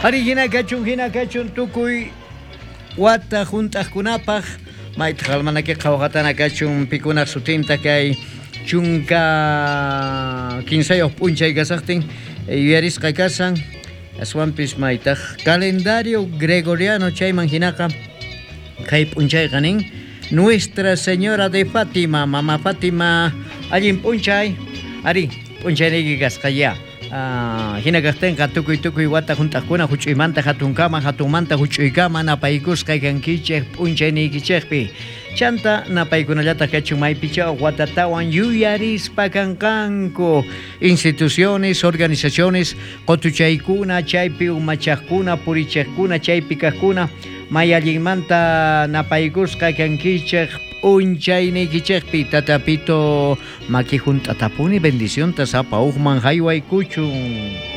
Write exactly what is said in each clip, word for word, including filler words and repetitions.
Ari, jina kachun, jina kachun tukuy wata junt'aqkunapax, maytaq almanaki qhawaqatana kachun, pikunax sutinta kay chunka kinsayuq p'unchay kasaqtin, eh, yuyarisqa kasan, aswampis maytaq calendario gregoriano chayman jinaqa, kay p'unchayqa nin, Nuestra Señora de Fátima, Mama Fátima, allin p'unchay, ari, p'unchayniki kasqa ya. Ah, jina kaqtinqa tukuy tukuy wata junt'aqkuna juch'uymanta jatunkama, jatunmanta juch'uykama napaykusqa kankichik p'unchayniykichikpi. Chanta napaykunallataq kachun maypichawaq watatawan yuyarispa kanqanku instituciones, organizaciones, qutuchaykuna, chaypi umachaqkuna, purichiqkuna, chaypi kaqkuna, may allinmanta napaykusqa kankichik p'unchayniykichikpi. Tatapito maki junt'atapuni bendicionta sapa ujman jaywaykuchun.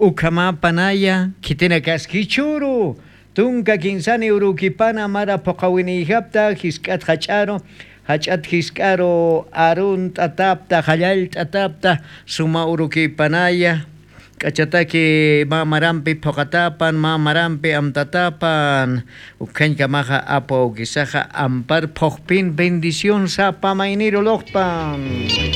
Ukhamapanaya, khitinakaskichuru, tunka kinsani urukipana mara phuqawiniyjapta, jisk'at jach'aru, jach'at jisk'aru arunt'atapta, jallallt'atapta, suma urukipanaya, k'achataki mä marampi phuqatapan, mä marampi amtatapan, ukhañkamaxa apu awkisaxa ampar phuqpin bendición sapa mayniru luqpan.